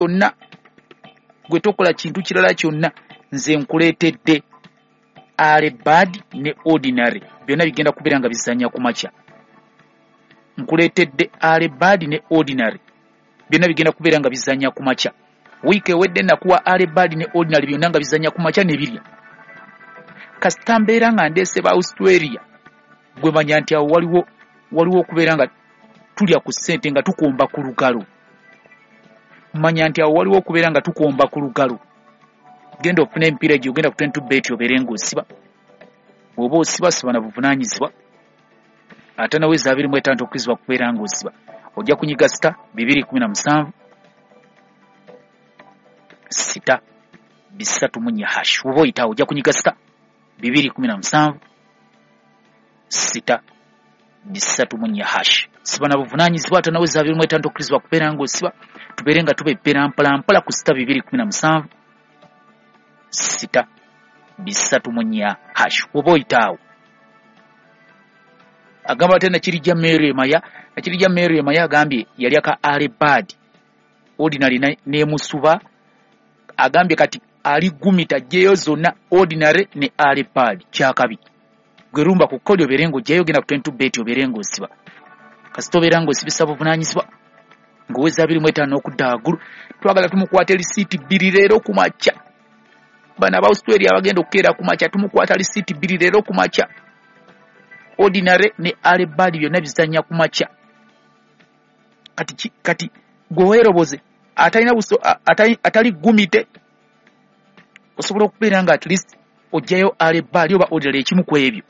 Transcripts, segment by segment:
Kyonna, gwe tokola kintu kirala kyonna. Nze nkuleetedde early bird ne ordinary, byonna bigenda kubeera nga bizannya ku makya. Nkuleetedde early bird ne ordinary, byonna bigenda kubeera nga bizannya ku makya. Wiiki ewedde nakuwa early bird ne ordinary, byonna nga bizannya ku makya ne birya. Kasita mbeera nga ndeese ba Australia, gwe manya nti awo waliwo okubeera nga tulya ku ssente nga tukomba ku lugalo. Manya nti awo waliwo okubeera nga tukomba ku lugalo. Genda ofune emipiira egyo, ogenda ku 22 Bet, obeere ng'osiba. Bw'oba osiba, siba na buvunaanyizibwa. Ate naweza 25 okkirizibwa kubeera ng'osiba. Ojja kunyiga *217*304# oba oyitaawo. Ojja kunyiga *217*304#. Siba na buvunaanyizibwa. Ate naweza 25 okkirizibwa kubeera ng'osiba. Tubeere nga tubeppera mpola mpola ku *217*304# oba oyitaawo. Agamba ate Nakirijja Mary Emaya. Nakirijja Mary Emaya agambye yali aka early bird, ordinary n'emusuba. Agambye kati ali gumita ajjeyo zonna, ordinary ne early bird. Kyakabi, gwe rumba ku kodi obeere ng'ojjayo. Genda ku 22 Bet, obeere ng'osiba. Kasita obeera ng'osibisa buvunaanyizibwa ng'oweza 25 okudda waggulu. Twagala tumukwate lisiiti 2 leero ku makya. Bano aba Australia abagenda okukeera ku makya, tumukwata lisiiti 2 leero ku makya. Ordinary ne early bird byonna bizannya ku makya. Kati gwe weeroboze, atalina buso, atali gumite, osobola okubeera nga at least ojjayo early bird oba ordinary, ekimu ku ebyo.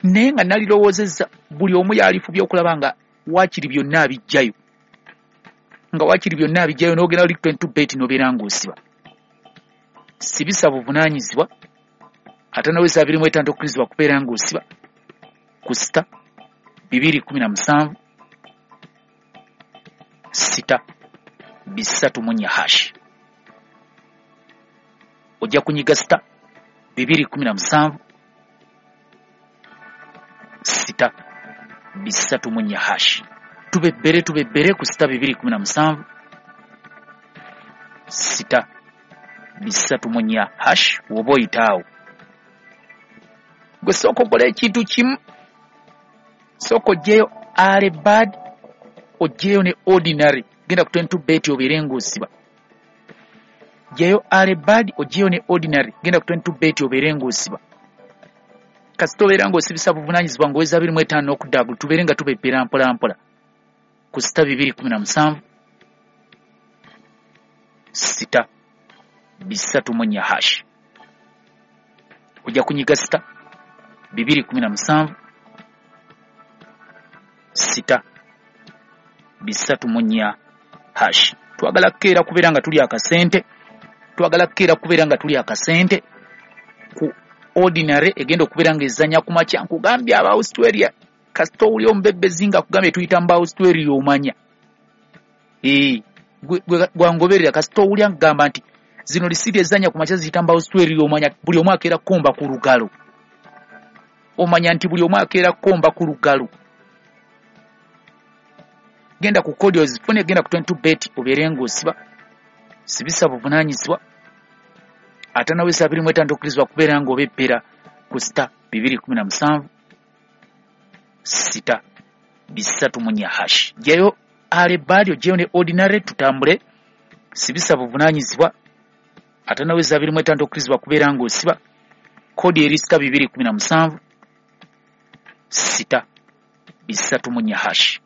Naye nga nalirowoozezza buli omu yalifubye okulaba nga waakiri byonna abijjayo, nga waakiri byonna abijjayo, n'ogenda oli 22 Bet n'obeera ng'osiba. Sibisa buvunaanyizibwa. Ate naweza 25 okkirizibwa kubeera ng'osiba ku *217*304#. Ojja kunyiga *217*304#. Tubebbere, tubebbere ku *217*304# woba oyitaawo. Gwe sooka okola ekintu kimu, sooka oggyeyo early bird, oggyeyo ne ordinary. Genda ku 22 Bet, obeere ng'osiba. Ggyayo early bird, oggyeyo ne ordinary. Genda ku 22 Bet, obeere ng'osiba. Kasita obeera ng'osibisa buvunaanyizibwa ng'oweza 25 n'okudda waggulu, tubeere nga tubebbera mpola mpola ku *217*304#. Ojja kunyiga *217*304#. Twagala kukeera kubeera nga tuli akasente. Twagala kukeera kubeera nga tuli akasente ku ordinary egenda okubeera ng'ezannya ku makya. Nkugambye aba Australia, kasita owuli omubebbezi nga akugambye tuyita mu ba Australia, omanya gwangoberera. Kasita owulya nkugamba nti zino lisiiti ezannya ku makya ziyita mu ba Australia, omanya buli omu akeera kukomba ku lugalo. Omanya nti buli omu akeera kukomba ku lugalo. Genda ku kodi ozifune. Genda ku 22 Bet, obeere ng'osiba. Sibisa buvunaanyizibwa. Ate naweza 25 okkirizibwa kubeera ng'obebbera ku *217*304#. Ggyayo early bird, oggyeyo ne ordinary, tutambule. Sibisa buvunaanyizibwa. Ate naweza 25 okkirizibwa kubeera ng'osiba. Kodi eri *217*304#.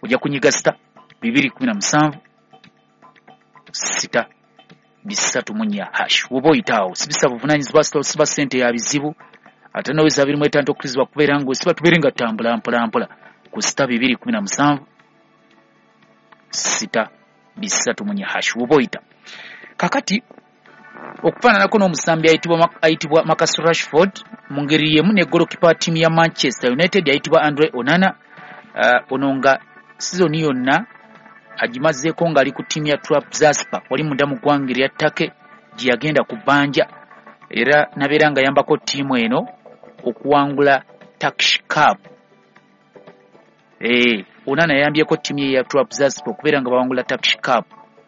Ojja kunyiga *217*304# woba oyitaawo. Sibisa buvunaanyizibwa. Siba ssente ya bizibu. Ate naweza 25 okkirizibwa kubeera ng'osiba. Tubeere nga tutambula mpola mpola ku *217*304# woba oyita. Kakati okufaananako n'omusambi ayitibwa Marcus Rashford, mu ngeri y'emu ne golokipa wa ttiimu ya Manchester United ayitibwa Andre Onana. Ono nga sizoni yonna agimazeeko ng'ali ku ttiimu ya Trabzonspor wali munda mu ggwanga erya Turkey gye yagenda ku bbanja, era nabeera nga yambako ttiimu eno okuwangula Turkish Cup. Onana yayambyeko ttiimu ye ya Trabzonspor okubeera nga bawangula Turkish Cup.